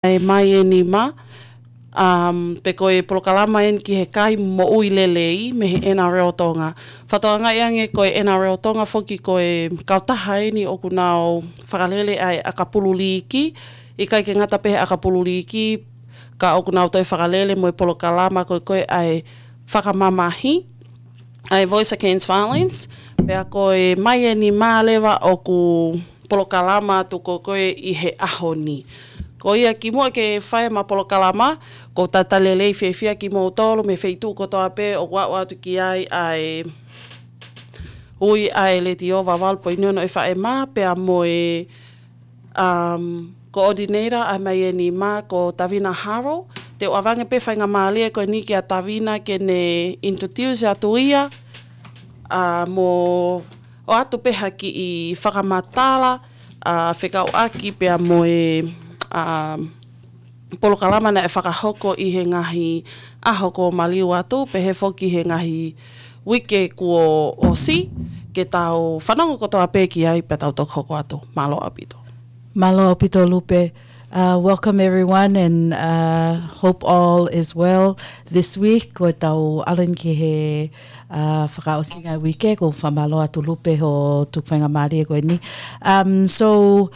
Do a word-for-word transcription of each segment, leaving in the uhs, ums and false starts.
ʻa e Mai ʻEni Mā, um, pe ko e polokalama eni ki he kai moʻui lelei mei he N R L Tonga. Fakatokangaʻi ange ko e N R L Tonga foki ko e kautaha eni ʻoku nau fakalele ʻa e ʻakapulu liiki, ʻikai ke ngata pē he ʻakapulu liiki, ka ʻoku nau toe fakalele mo e polokalama ko e ko e ʻa e fakamamahi, ʻa e Voice Against Violence, pea ko e Mai ʻEni Mā leva ʻoku polokalama atu ko e ko e ʻi he ʻaho ni. Ko ia kimuʻa ke fai ʻema polokalama, ʻoku ou talitali lelei fiefia kimoutolu mei he feituʻu kotoa pē ʻoku aʻu atu ki ai ʻa e ui ʻa e Letiō Vavalu Poini Ono ʻEfaʻema, pea mo e um, coordinator ʻa e Mai ʻEni Mā ko Tavina Haro. Te u ʻoange pē faingamālie ko eni kia Tavina ke ne introduce atu ia, ʻa, mo ʻoatu pē ha kiʻi fakamatala, ʻa, fekauʻaki pea mo e, um, polokalama naʻe fakahoko ʻi he ngaahi ʻaho kuo maliu atu, pehē foki he ngaahi uike kuo ʻosi, ke tau fanongo kotoa pē ki ai pea tau toki hoko atu. Mālō ʻaupito. Mālō ʻaupito Lupe. Uh, welcome everyone and, uh, hope all is well this week. Ko ʻetau ʻalu eni ki he, uh, fakaʻosinga uike, ʻoku ou fakamālō atu Lupe hoʻo tuku faingamālie ko eni. Um, so,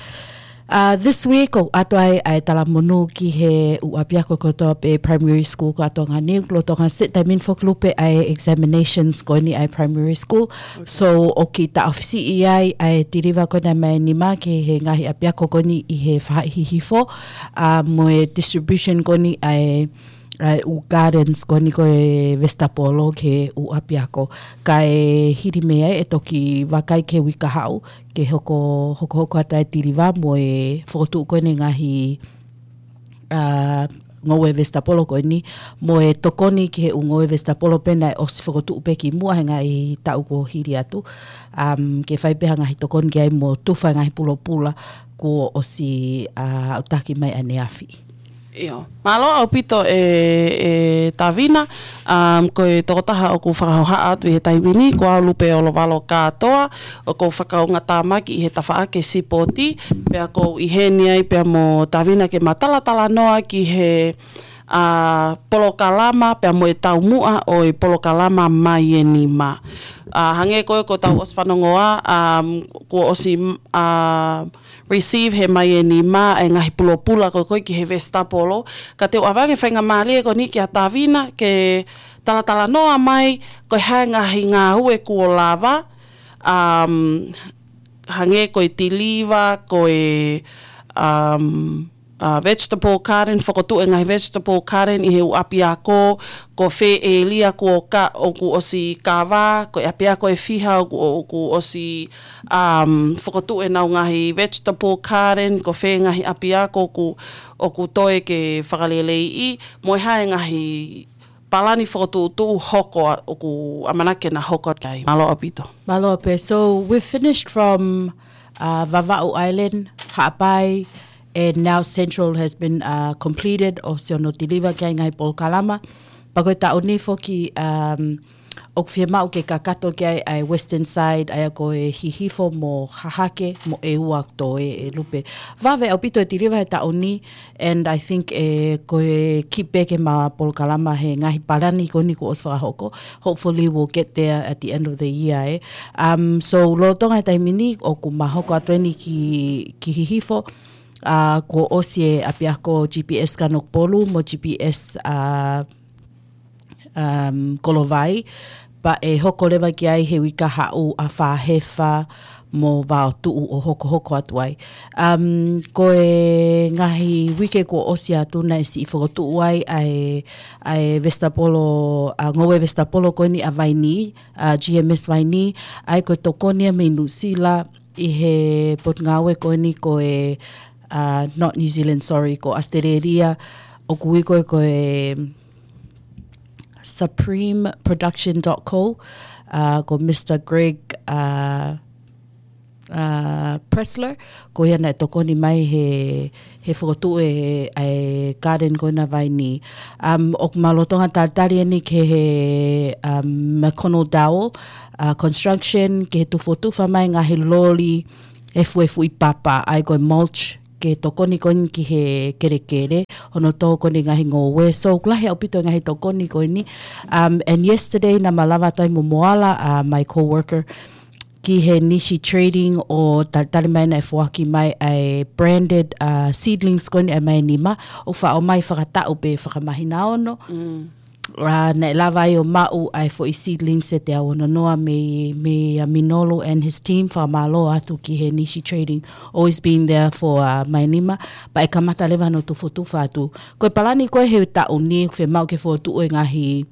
uh, this week, ʻoku ʻoatu ai ʻa e talamonū ki he ʻū ʻapiako kotoa pē primary school ko ē ʻa Tonga ni, lolotonga he taimi ni foki Lupe ʻa e examinations ko eni ʻa e primary school. So, ʻoku kiʻi taʻofisiʻi ai ʻa e tiliva ko eni ʻa e Mai ʻEni Mā ki he ngaahi ʻapiako ko eni ʻi he faʻahi hihifo, ʻa, mo e distribution ko eni ʻa e, ʻa e ʻū gardens ko eni ko e vesitapolo ki he ʻū ʻapiako. Kae hili mei ai ʻe toki vakai ki he uike kahaʻu, ke hoko, hokohoko atu ʻa e tiliva mo e fokotuʻu ko eni ngaahi, ʻa, ngoue vesitapolo ko eni, mo e tokoni ki he ʻū ngoue vesitapolo pē naʻe ʻosi fokotuʻu pē kimuʻa he ngaahi taʻu kuo hili atu. Um, ke fai pē ha ngaahi tokoni ki ai mo tufa e ngaahi pulopula kuo ʻosi, ʻa, aʻutaki mai ʻaneafi. ʻIo. Mālō ʻaupito ʻe, ʻe Tavina, um, ko e tokotaha ʻoku fakahohaʻa atu ʻi he taimi ni, ko au Lupe Olovalo Kātoa, ʻoku ou fakaungatāmaki ʻi he tafaʻaki sipoti, pea ʻoku ou ʻi heni ai pea mo Tavina ke ma talatalanoa ki he, ʻa, polokalama pea mo e taumuʻa ʻo e polokalama Mai ʻEni Mā. ʻA, hangē ko ē kuo tau ʻosi fanongoa, um, kuo ʻosi, ʻa, receive he Mai ʻEni Mā e ngaahi pulopula ko ē ko ē ki he vesitapolo. Ka te u ʻoange faingamālie ko eni kia Tavina ke talatalanoa mai ko e hā e ngaahi ngāue kuo lava, um, hangē ko e tiliva, ko e, um, ʻa, vegetable garden, fokotuʻu e ngaahi vegetable garden ʻi he ʻū ʻapiako, ko fē ʻēlia kuo ka, ʻoku ʻosi kava, ko e ʻapiako ʻe fiha ʻoku, ʻoku ʻosi, um, fokotuʻu ʻenau ngaahi vegetable garden, ko fē ngaahi ʻapiako ʻoku, ʻoku toe ke fakaleleiʻi, mo e hā e ngaahi palani fokotuʻutuʻu hoko ʻa, ʻoku ʻamanaki ke na hoko atu ki ai. Mālō ʻaupito. Mālō Lupe. So we've finished from, uh, Vavaʻu Island, Haʻapai, and now Central has been, uh, completed, ʻosi hono tiliva ki ai ngaahi polokalama. Pea ko e taʻu ni foki, um, ʻoku fiemaʻu ke kakato ki ai ʻa e Western side, ʻa ia ko e hihifo mo Hahake mo ʻEua ʻoku toe ʻe Lupe. Vave ʻaupito e tiliva he taʻu ni, and I think, ʻe, ko e kiʻi pē ke ma polokalama he ngaahi palani ko eni kuo ʻosi fakahoko. Hopefully we'll get there at the end of the year, ē. Um, so, lolotonga he taimi ni, ʻoku ma hoko atu eni ki, ki hihifo, ʻa, kuo ʻosi e ʻapiako G P S Kanokupolu mo G P S, ʻa, um, Kolovai, pea ʻe hoko leva ki ai he uike kahaʻu ʻa Fāhefa mo Vaotuʻu ʻo hokohoko atu ai. Um, ko e ngaahi uike kuo ʻosi atu naʻe siʻi fokotuʻu ai ʻa e, ʻa e vesitapolo, ʻa, ngoue vesitapolo ko eni ʻa Vainī, ʻa, G M S Vainī, ʻa ia ko e tokoni ia mei Nuʻusila ʻi he potungāue ko eni ko e, ʻa, not New Zealand, sorry, ko ʻAositelēlia, ʻoku ui ko ē ko e Supreme Production dot co, ʻa, ko Mister Greg, ʻa, ʻa, Pressler, ko ia naʻe tokoni mai he, he fokotuʻu e, e garden ko ena Vainī. Um, ʻoku ma lolotonga talitali eni ki he, um, McConnell Dowell, ʻa, Construction, ki he tufotufa mai ngaahi loli efuefuʻi papa, ʻa ia ko e mulch, ke tokoni ko eni ki he kelekele, hono tō ko eni e ngaahi ngoue. So, ʻoku lahi ʻaupito e ngaahi tokoni ko eni. Um, and yesterday, naʻá ma lava atu ai mo Moala, uh, my coworker, ki he Nishi Trading ʻo talitali mai naʻe foaki mai ʻa e branded, uh, seedlings ko eni ʻa e Maenima, ʻo faʻo mai fakataʻu pe fakamahinaono. Mm. Uh, naʻe lava ai ʻo maʻu ʻa e foʻi seedlings ʻe teau ono noa mei, mei, uh, Minolu and his team, fakamālō atu ki he Nishi Trading, always been there for, uh, Maenima, pea ʻe kamata leva hono tufotufa atu. Ko e palani ko ē he taʻu ni, fiemaʻu ke fokotuʻu e ngaahi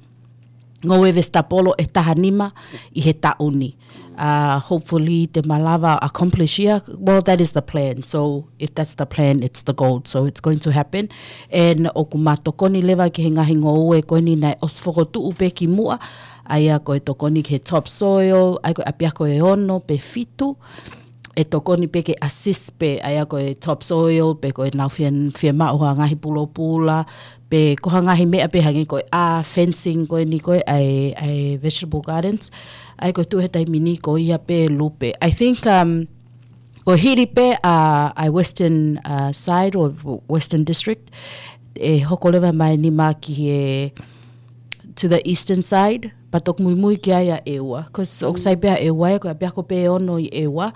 ngoue vesitapolo ʻe taha nima ʻi he taʻu ni. Uh, hopefully, te ma lava accomplish ia. Well, that is the plan. So, if that's the plan, it's the goal. So, it's going to happen. And ʻoku ma tokoni leva ki he ngaahi ngoue ko eni naʻe ʻosi fokotuʻu pe kimuʻa. ʻA ia ko e tokoni ki he topsoil, ʻa ia ko e ʻapiako ʻe ono pe fitu. ʻE tokoni pe ke assist pe, ʻa ia ko e topsoil, pe ko e nau fie, fiemaʻu ha ngaahi pulopula, pe ko ha ngaahi meʻa pe hangē ko e ʻā, fencing ko eni ko ē ʻa e, ʻa e vegetable gardens. ʻA ia ko e tuʻu he taimi ni ko ia pe Lupe. I think, um, ko e hili pe ʻa, ʻa e Western, uh, side or Western District, ʻe hoko leva Maenima ki he, to the eastern side, pea toki muimui ki ai ʻa ʻEua. 'Cause ʻoku sai pe ʻa ʻEua, ko e ʻapiako pe ʻe ono ʻi ʻEua.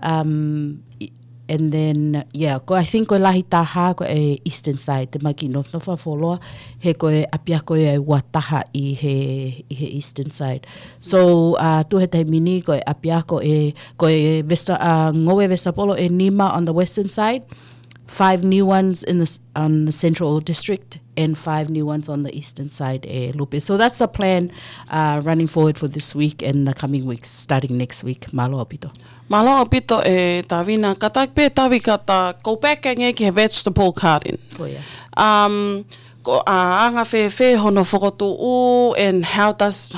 Um, i-, and then, yeah, ko, I think ko e lahi taha ko e eastern side, te ma kiʻi nofo, nofo fakafuoloa, he ko e ʻapiako ia ʻe ua taha ʻi he, ʻi he eastern side. So, uh, tuʻu he taimi ni ko e ʻapiako ʻe, ko e vesta-, uh, ngoue vesitapolo ʻe nima on the western side, five new ones in the s-, on the central district, and five new ones on the eastern side ʻe Lupe. So that's the plan, uh, running forward for this week and the coming weeks, starting next week. Mālō ʻaupito. Mālō ʻaupito ʻe Tavina, kātaki pe Tavi ka ta go back ange ki he vegetable garden. Ko ia. Um, ko, uh, anga fēfē hono fokotuʻu and how does,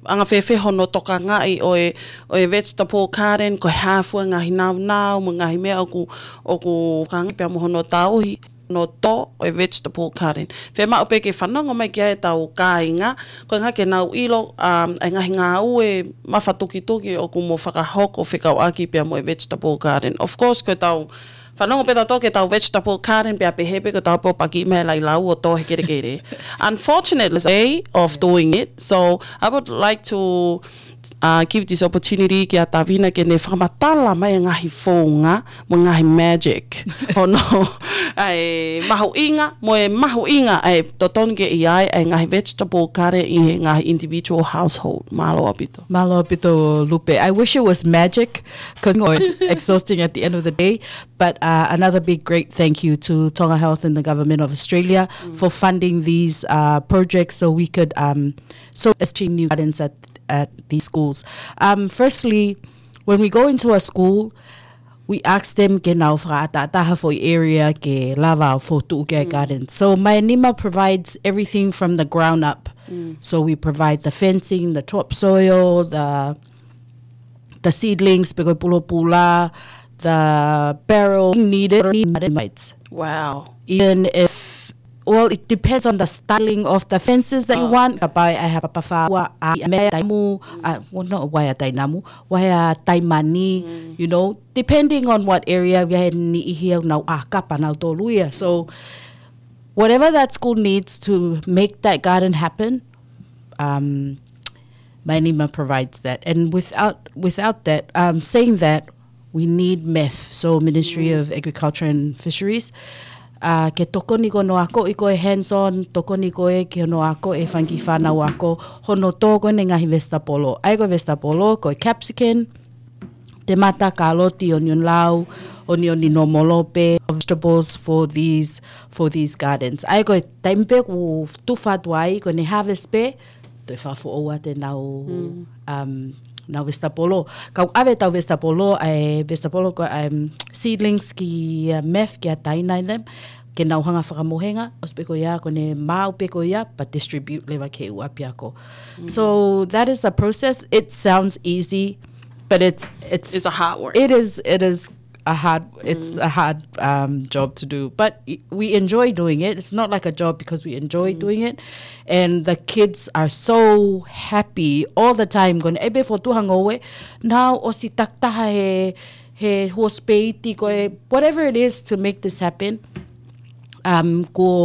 anga fēfē hono tokangaʻi ʻo e, ʻo e vegetable garden, ko e hā fua e ngaahi naunau, mo e ngaahi meʻa ʻoku, ʻoku kangi pea mo hono tauhi, hono tō ʻo e vegetable garden. Fiemaʻu pe ke fanongo mai ki ai ʻetau kāinga, ko e ʻuhinga ke nau ʻilo, um, e ngaahi ngāue mafatukituki ʻoku mo fakahoko fekauʻaki pea mo e vegetable garden. Of course, ko ʻetau fanongo pe tautolu ki heʻetau vegetable garden pea pehē pe ko ʻetau pō paki mai e lai lau ʻo tō he kelekele. Unfortunately, it's a way of doing it. So I would like to, uh, give this opportunity kia Tavina ke ne fakamatala mai e ngaahi founga mo e ngaahi magic. Hono, ʻa e mahuʻinga, mo e mahuʻinga ʻa e totonu ke ʻi ai ʻa e ngaahi vegetable garden ʻi he ngaahi individual household. Mālō ʻaupito. Mālō ʻaupito, Lupe. I wish it was magic, 'cause it's exhausting at the end of the day. But, uh, another big great thank you to Tonga Health and the Government of Australia for funding these, uh, projects so we could, um, so establish new gardens at, at these schools. Um, firstly, when we go into a school, we ask them ke nau fakaʻataʻatā ha foʻi area ke lava ʻo fokotuʻu ki ai e garden. So Maenima provides everything from the ground up. So we provide the fencing, the topsoil, the the seedlings, pe ko e pulopula, the barrel needed, needed. Wow. Even if, well, it depends on the styling of the fences that you want. Ka pai ʻai ha papa fāua, ʻai ha meʻa tainamu, uh, well, not ʻai ha tainamu, ʻai ha taimani, you know, depending on what area, ʻi ai e niʻihi ʻoku nau ʻā kapa nautolu ia. So, whatever that school needs to make that garden happen, um, Maenima provides that. And without, without that, um, saying that, we need MEF, so Ministry of Agriculture and Fisheries, uh, ke tokoni ko hono akoʻi ko e hands-on, tokoni ko ē ki hono akoʻi e fanga kiʻi fānau ako, hono tō ko eni e ngaahi vesitapolo. ʻA ia ko e vesitapolo, ko e capsicum, temata, kaloti, onion lau, onion nōmolo pe, vegetables for these, for these gardens. ʻA ia ko e taimi pe ʻoku tufa atu ai, ko ʻene harvest pe, toe fakafoʻou atu ʻenau, um, ʻenau vesitapolo. Kau ʻave ʻetau vesitapolo, ʻa e vesitapolo ko e, um, seedlings ki, uh, MEF, kia Taina and them, ke nau hanga fakamohenga, ʻosi pe ko ia, ko ʻene maʻu pe ko ia, pea distribute leva ki he ʻū ʻapiako. So that is the process. It sounds easy, but it's, it's, it's a hard work. It is, it is a hard, it's a hard, um, job to do, but i-, we enjoy doing it. It's not like a job because we enjoy doing it, and the kids are so happy all the time. Ko ʻene ʻai pe fokotuʻu ha ngoue, nau ʻosi takitaha he, he housekeeping, ko e whatever it is to make this happen. Um, ko